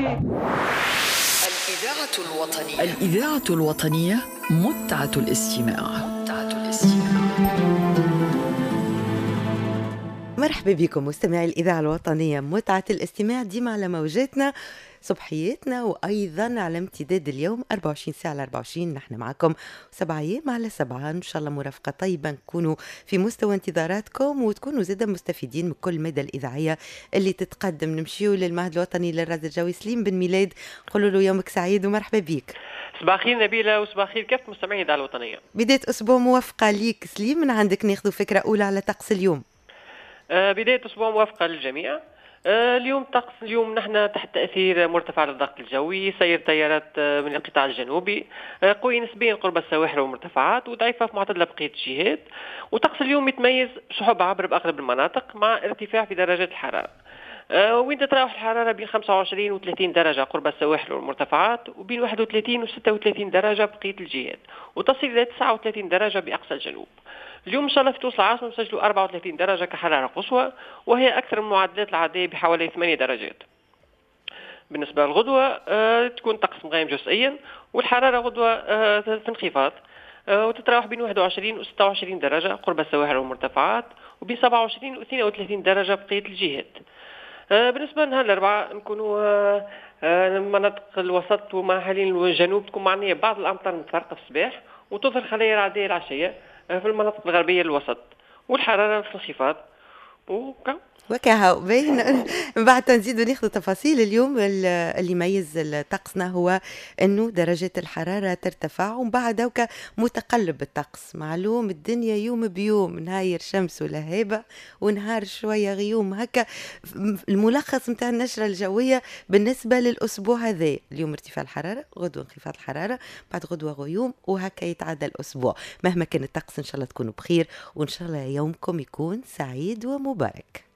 الإذاعة الوطنية، الإذاعة الوطنية، متعة الاستماع، متعة الاستماع. مرحبا بكم مستمعي الإذاعة الوطنية، متعة الاستماع ديما على موجاتنا صبحياتنا، وأيضا على امتداد اليوم 24 ساعة على 24 نحن معكم، 7 أيام على 7. إن شاء الله مرافقة طيبة، نكونوا في مستوى انتظاراتكم وتكونوا زادا مستفيدين من كل مادة الإذاعية اللي تتقدم. نمشيو للمعهد الوطني للرصد الجوي، سليم بن ميلاد، نقولوا له يومك سعيد ومرحبا بك. صباح الخير نبيلة وصباح الخير كافة مستمعي الإذاعة الوطنية. بداية أسبوع موفقة ليك سليم، من عندك ناخذ فكرة أولى على طقس اليوم. بداية أسبوع موفقة للجميع. اليوم طقس اليوم نحن تحت تأثير مرتفع للضغط الجوي، سير تيارات من القطاع الجنوبي قوي نسبيا قرب السواحل والمرتفعات وضعيفة في معتدلة بقية الجهات. وطقس اليوم يتميز سحب عابر بأغلب المناطق مع ارتفاع في درجات الحرارة، وين تتراوح الحرارة بين 25 و 30 درجة قرب السواحل والمرتفعات، وبين 31 و 36 درجة بقية الجهات، وتصل إلى 39 درجة بأقصى الجنوب. اليوم إن شاء الله في تونس العاصمة نسجلوا 34 درجة كحرارة قصوى، وهي أكثر من المعدلات العادية بحوالي 8 درجات. بالنسبة للغدوة تكون طقس مغيم جزئيا، والحرارة غدوة في انخفاض وتتراوح بين 21 و 26 درجة قرب السواحل والمرتفعات، وبين 27 و 32 درجة بقية الجهات. بالنسبة لنهار الأربعاء نكونوا مناطق الوسط ومحالين الجنوب تكون معنية بعض الأمطار المتفرقة في الصباح، وتظهر خلايا رعدية العشية في المناطق الغربية الوسط، والحرارة في انخفاض وكا. وكهو باين. من بعد نزيدوا ناخذ تفاصيل. اليوم اللي يميز طقسنا هو انه درجات الحرارة ترتفع، ومن بعد هكا متقلب الطقس، معلوم الدنيا يوم بيوم، نهاير شمس ولهيبه ونهار شوية غيوم. هكا الملخص نتاع النشرة الجوية بالنسبة للاسبوع هذا: اليوم ارتفاع الحراره، غدوه انخفاض الحراره، بعد غدوه غيوم، وهكا يتعدى الاسبوع. مهما كان الطقس ان شاء الله تكونوا بخير، وان شاء الله يومكم يكون سعيد ومبارك.